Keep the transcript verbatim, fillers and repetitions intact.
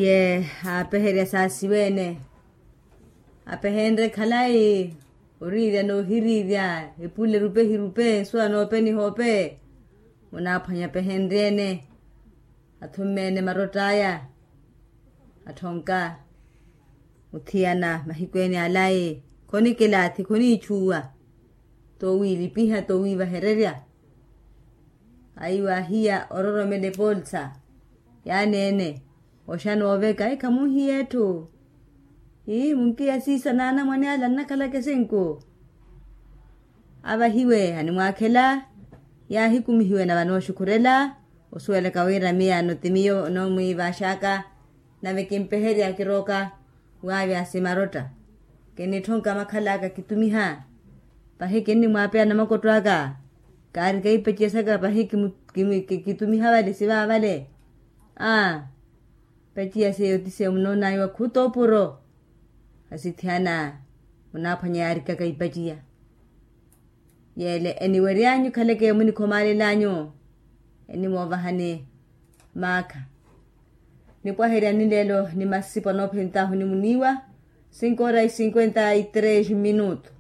Iye aapeherya saasiweene, apehenrye khalayi oriirya n'ohiriirya, epule erupe ehirupe nsuwa n'ope nihoope. Munaaphwanya apehenrye-ene, athummeene marott'aya, atthonka muthiyana mahiku-ene alayi. Khonikelaathi khoniichuwa, t'owiilipiha t'owiivahererya. Ayiwa ahiya ororomela epoolisa yaaneene, oxana oveka ikhamuhiya etthu. Ii munkiya siisa n'anamwane ala nnakhalaka esinku. Avahiwe animwaakhela, yaahikumihiwe na vanooxukhurela osuwelaka wira miyaano ti miyo onoomwiivaxaka. Nave kimpeherya kirooka waavya simarotta, kinitthonka makhal'aka kitumiha. Pahi kinnimwaapeya namakotto aka, kaarika ipaciya saka pahi kitumiha vale siva vale. Aa, ipaciya seiyo ti seiyo munoon'awe wakhuta opuro. Asithiyana munaaphwanya yaarikaka ipaciya. Yeele eniwery'anyu khaleke munikhomaalel'anyu, enimoovahani maakha. Nipwaheryani leelo ni masipo anoophent'ahu ni muniiwa. Cinco horas cinquenta y tres minutos.